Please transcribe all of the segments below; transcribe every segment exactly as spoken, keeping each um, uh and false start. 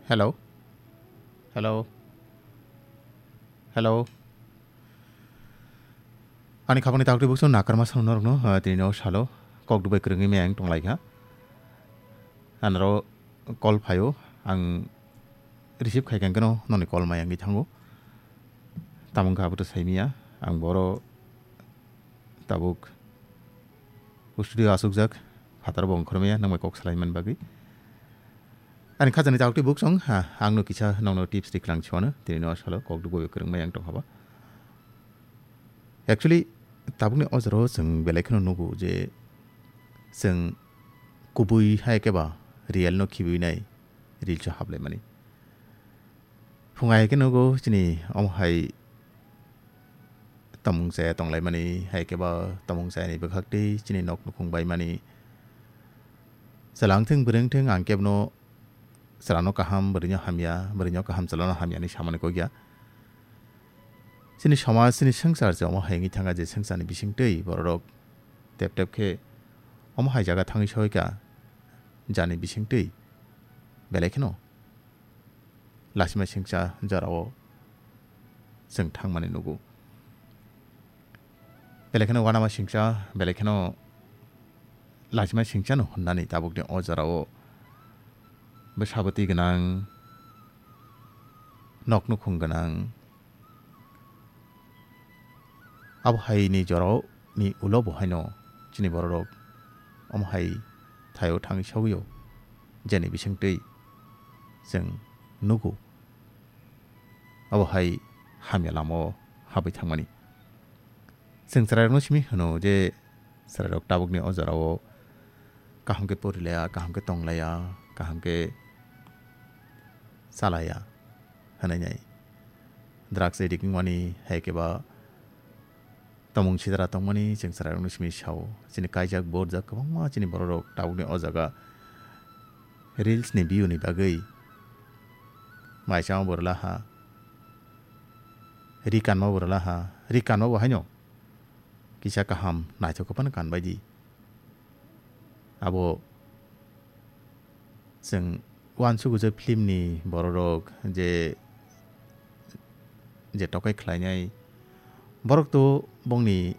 Hello? Hello? Hello? Ani khabangni taktwi buksong nakarma sano norokno, ah, tini no salo. Kok dubai kwrwngwi maya ang tonglaikha. Anaro call phaio, ang receive khai kha, hwnkhe no noni call maya wngwi thango. Tamo wngkha abo to saimaya, ang boro tabuk studio asukjak, phataro bo ongkhormaya, nangbai kok salaimani bagwi. Ani khajani taktwi buksong, ha, angno kisa nongno tips riklang chwano, tini no salo kok dubai kwrwngmaya ang tongkhaba. Actually, tabukni o jorao chwng belai kheno nugo je chwng kubui hai khe ba real no khibiui nai reels o haplaimani. Phung hai khe nugo chini omo hai tongmung chaya tonglaimani, hai khe ba tongmung chayani bwkhak tei chini nok nukhung baimani. Chwla wngthung bwrwi wngthung ang kebono chwlano kaham, bwrwino hamya, bwrwino kaham chwlano hamya hinwi samani kok ya. Chini somaj, chini swngchar se omo hai wngwi thangkha je swngcharni bisingtwi bororok tep tep khe omo hai jaga thangwi soikha jani bisingtwi belai kheno lasima singcha jorao chwng thangmani nugo. Belai kheno uanama singcha, belai kheno lachima singchano hwnnani tabukni o jorao bwsa bwtwi gwnang, nok nukhung gwnang. Abo haini jorao ni ulo bo haino chini bororok omo hai thaio thangwi sogwio, jeni bisingtwi chwng nugo abo hai hamya lamao habwi thangmani. Chwng chwrairokno simi hwno je chwrairok tabukni o jorao kaham khe porilaya, kaham khe tonglaya, kaham khe chalaya hwnwi nai. Drugs addict wngmani hai khe ba tongmung sitra tongmani chwng chwrairokno simi sao. Chini kaijak borjak kwbangma chini bororok tabukni o jaga reels ni view ni bagwi mai chama bo rwla ha, ri kanma bo rwla ha, ri kanma bo haino kisa kaham naithok phano kan bai di. Abo chwng uansukgwi je film ni bororok je, je tokai khlainai, borok to bongni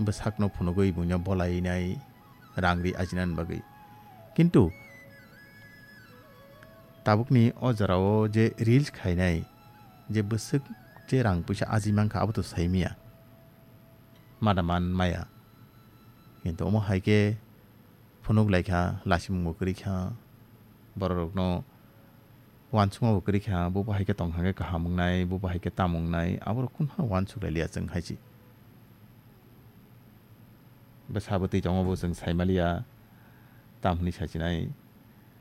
bwsakno phunugwi buino bolainai, rang ri ajinani bagwi. Kintu tabukni o jorao je reels khainai, je bwswk je rang puisa aji mankha, abo to saimaya. Mada man maya. Kintu omo hai khe phunuk lai kha, lasimung bo kwrwi kha, bororokno uansukma bo kwrwi kha, bo bo hai khe tong thang khe kaham wngnai, bo bo hai khe tamo wngnai, aborok kunu phano uansuk lai liya chwng hai se. Bwsa bwtwi tongo bo chwng sai ma liya, tam hwnwi sai sinai.